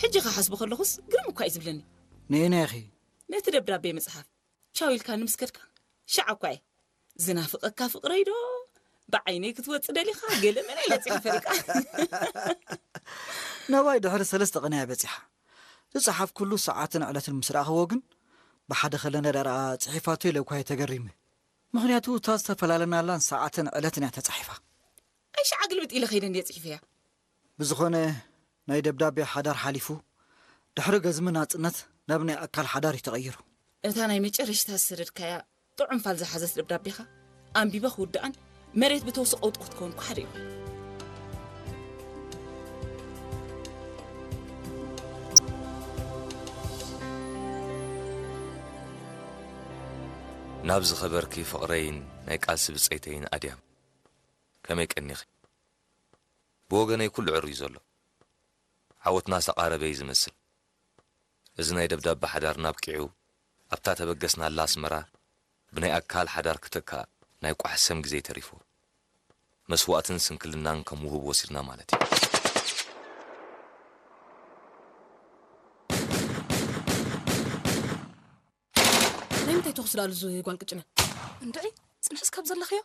ሕጂ ክሓስቦ ከለኹስ ግርም እኳ እዩ ዝብለኒ። ንየናይ ኢኺ? ነቲ ደብዳቤ መጽሓፍ ቻው ኢልካ ንምስከድካ ሻዕ እኳ እየ ዝናፍቐካ ፍቕረይ ዶ ብዓይነይ ክትወጽእ ደሊኻ ገለ መለ ኢለ ጽሒፈ ደቃ። ናባይ ድሕሪ ሰለስተ ቀን እያ በጺሓ። ዝጸሓፍኩሉ ሰዓትን ዕለትን ምስ ረኣኽዎ ግን ብሓደ ከለና ደኣ ጽሒፋቶ ኢለ እኳ እየ ተገሪመ። ምኽንያቱ እታ ዝተፈላለናላን ሰዓትን ዕለትን እያ ተጻሒፋ። ኣይ ሻዕ ግልብጥ ኢለ ከይደ እንድየ ጽሒፈያ። ብዝኾነ ናይ ደብዳቤ ሓዳር ሓሊፉ ድሕሪ ገዝሚ ናጽነት ናብ ናይ ኣካል ሓዳር እዩ ተቐይሩ። እታ ናይ መጨረሽታ ዝሰደድካያ ጥዑም ፋል ዝሓዘት ደብዳቤኻ ኣንቢበ ክውድኣን መሬት ብተውሲ ቀውጢ ክትከውን እኳ ሓደ ይኹን። ናብ ዝኸበርኪ ፍቕረይን ናይ ቃልሲ ብጸይተይን ኣድያም፣ ከመይ ቀኒኺ? ብወገነይ ኩሉ ዕሩይ ዘሎ። ዓወትና ዝተቓረበ እዩ ዝመስል። እዚ ናይ ደብዳበ ሓዳርና ኣብቂዑ፣ ኣብታ ተበገስናላ ኣስመራ ብናይ ኣካል ሓዳር ክተካእ ናይ ቋሕ ሰም ግዜ ተሪፍዎ። መስዋእትን ስንክልናን ከም ውሁብ ወሲድና ማለት እዩ። ናይ ምንታይ ተኹሲ ደኣ ኣሉ እዚ ጓል ቅጭነ? እንድዒ፣ ጽንሕስ ካብ ዘለኽዮ?